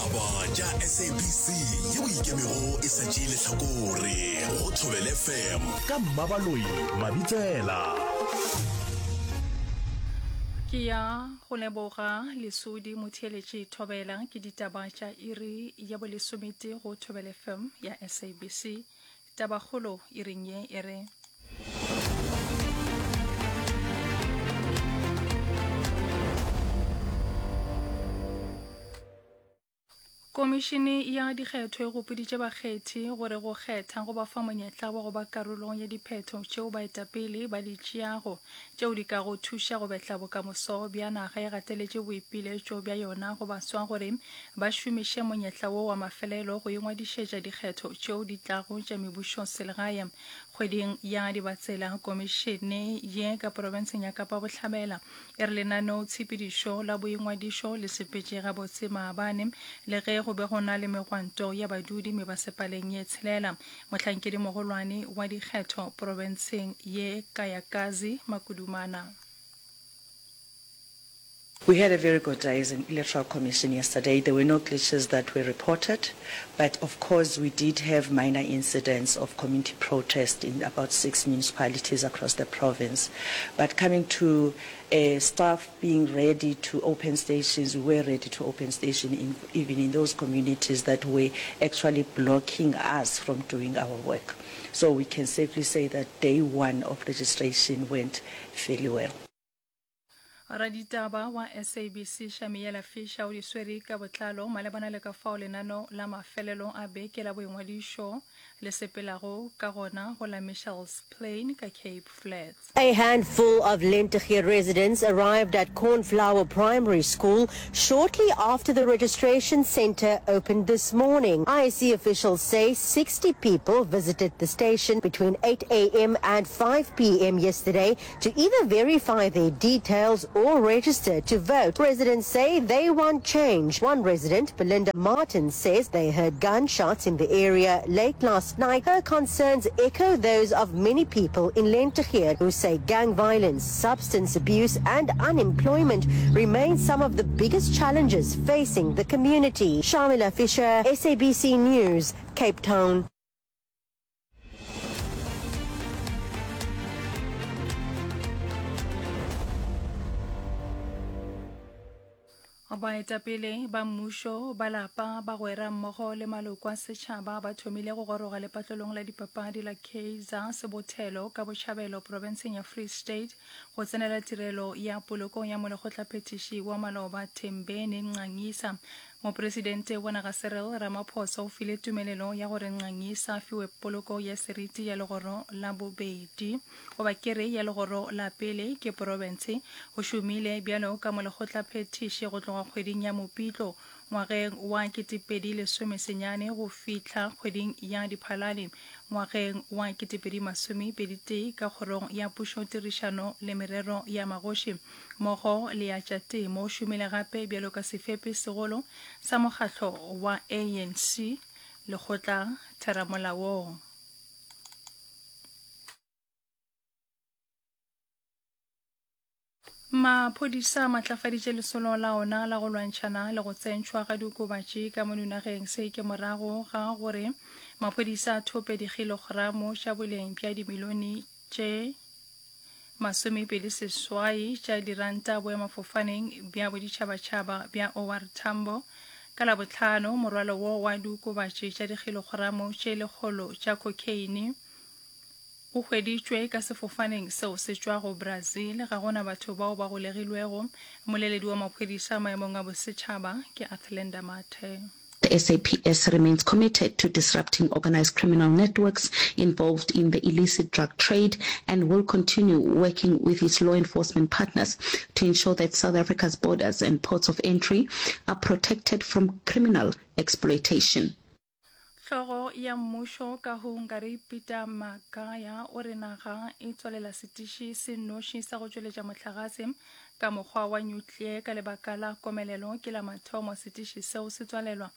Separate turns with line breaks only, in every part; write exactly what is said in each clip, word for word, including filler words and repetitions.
Ditaba tša S A B C yeo ikemego e sa tšee lehlakore go Thobela F M ka Mmabaloi Mabitsela.
Ke ya go leboga Lesodi motheeletši Thobela ke ditaba tša iri ya bolesometee go Thobela F M ya S A B C. Tabakgolo iring ye e re. Komišene ya dikgetho e gopoditše bakgethi gore go kgetha go ba fa monyetla wa go ba karolo ya diphetho tšeo baetapele ba di tšeago tšeo di kago thuša go betla bokamoso bja naga. E gateletše boipiletšo bja yona go baswa gore ba šomiše monyetla wo wa mafelelo go ingwadišetša dikgetho tšeo di tlago tša mebušo selegae kgweding ya Dibatsela. Komišene ye ka profenseng ya Kapa Bohlabela e re lenaneotshepedišo la boingwadišo le sepetše gabotse maabane le ge go be go na le megwanto ya badudi mebasepaleng ye tshelela. Mohlankedi mogolwane wa dikgetho profenseng ye Kayakazi Makudumana.
We had a very good day as an electoral commission yesterday. There were no glitches that were reported, but of course we did have minor incidents of community protest in about six municipalities across the province. But coming to uh, staff being ready to open stations, we were ready to open stations in, even in those communities that were actually blocking us from doing our work. So we can safely say that day one of registration went fairly well.
Raditaba wa S A B C Shamiela Fisher o di swere ka botlalo malebana le ka fao lenaneo la mafelelo a beke la boingwadišo le sepelago ka gona go la Mitchells Plain ka Cape Flats.
A handful of Lentegeur residents arrived at Cornflower Primary School shortly after the registration center opened this morning. I E C officials say sixty people visited the station between eight A M and five P M yesterday to either verify their details or register to vote. Residents say they want change. One resident, Belinda Martin, says they heard gunshots in the area late last night. Her concerns echo those of many people in Lentegeur who say gang violence, substance abuse and unemployment remain some of the biggest challenges facing the community. Shamila Fisher, S A B C News, Cape Town.
Baetapele ba mmušo, ba lapa, bagwera mmogo le maloko a setšhaba ba thomile go goroga lepatlelong la dipapadi la Kaizer Sebothelo ka Bohlabelo profenseng ya Free State go tsenela tirelo ya poloko ya molekgotlaphethiši wa maloba Thembeni Nxangisa. Mopresidente wa naga Cyril Ramaphosa o file tumelelo ya gore Nxangisa a fiwe poloko ya seriti ya legoro la bobedi goba kere ya legoro la pele ke profense. O šomile bjalo ka molekgotlaphethiši go tloga kgweding ya Mopitlo ngwageng wa ketepedi lesome senyane go fihla kgweding ya Diphalane ngwageng wa ketepedi masomepedi tee ka kgorong ya pušo, tirišano le merero ya magoši mmogo le ya tša temo. O šomile gape bjalo ka sefepi segolo sa mokgatlo wa A N C lekgotla theramolaong. Maphodisa a matlafaditše lesolo la ona la go lwantšhana le go tsentšhwa ga diokobatši ka mono nageng. Se ke morago ga gore maphodisa a thope dikilogramo tša boleng bja dimilione tše masomepedi seswai tša diranta boemafofaneng bja boditšhabatšhaba bja O R Tambo ka Labohlano. Morwalo wo wa diokobatši tša dikilogramo tše lekgolo tša cocaine o hweditšwe ka sefofaneng seo se tšwago Brazil. Ga gona batho bao ba golegilwego. Mmoleledi wa maphodisa maemong a bosetšhaba ke Athlenda Mathe.
The S A P S remains committed to disrupting organized criminal networks involved in the illicit drug trade and will continue working with its law enforcement partners to ensure that South Africa's borders and ports of entry are protected from criminal exploitation.
Hlogo ya mmušo ka Hungary Peter Magaya o re naga e tswalela setiši se nnoši sa go tšweletša mohlagase ka mokgwa wa nuclear ka lebaka la komelelo. Ke la mathomo setiši seo se tswalelwa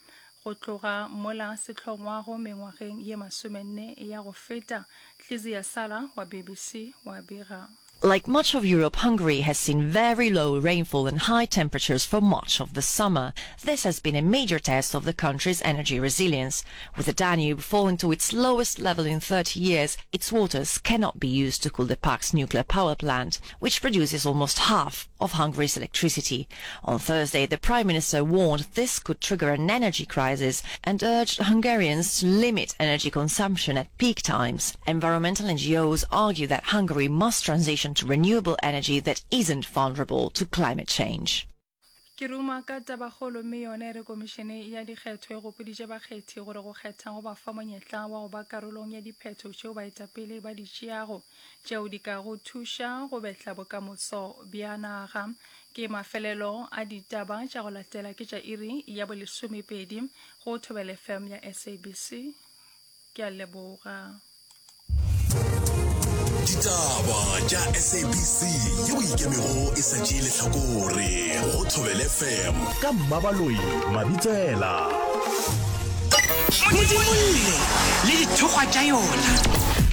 go tloga mola se hlongwago mengwageng ye masomenne ya go feta. Tlizia Sala wa B B C wa bega.
Like much of Europe, Hungary has seen very low rainfall and high temperatures for much of the summer. This has been a major test of the country's energy resilience. With the Danube falling to its lowest level in thirty years, its waters cannot be used to cool the Paks nuclear power plant, which produces almost half of Hungary's electricity. On Thursday, the Prime Minister warned this could trigger an energy crisis and urged Hungarians to limit energy consumption at peak times. Environmental N G Os argue that Hungary must transition to renewable energy that isn't vulnerable to climate change.
Ke ruma ka tabakgolo mme yona e re komišene ya dikgetho e gopoditše bakgethi gore go kgetha go ba fa monyetla wa go ba karolong ya diphetho tšeo baetapele ba di tšeago tšeo di ka go thuša go betla bokamoso bja naga. Ke mafelelo a ditaba tša go latela ke tša iri ya bolesomepedi go Thobela F M ya S A B C. Ke a leboga.
Ditaba tša S A B C yeo e ikemego e sa tšee lehlakore go Thobela F M ka Mmabaloi Mabitsela.
Modimolle le dithokgwa tša yona.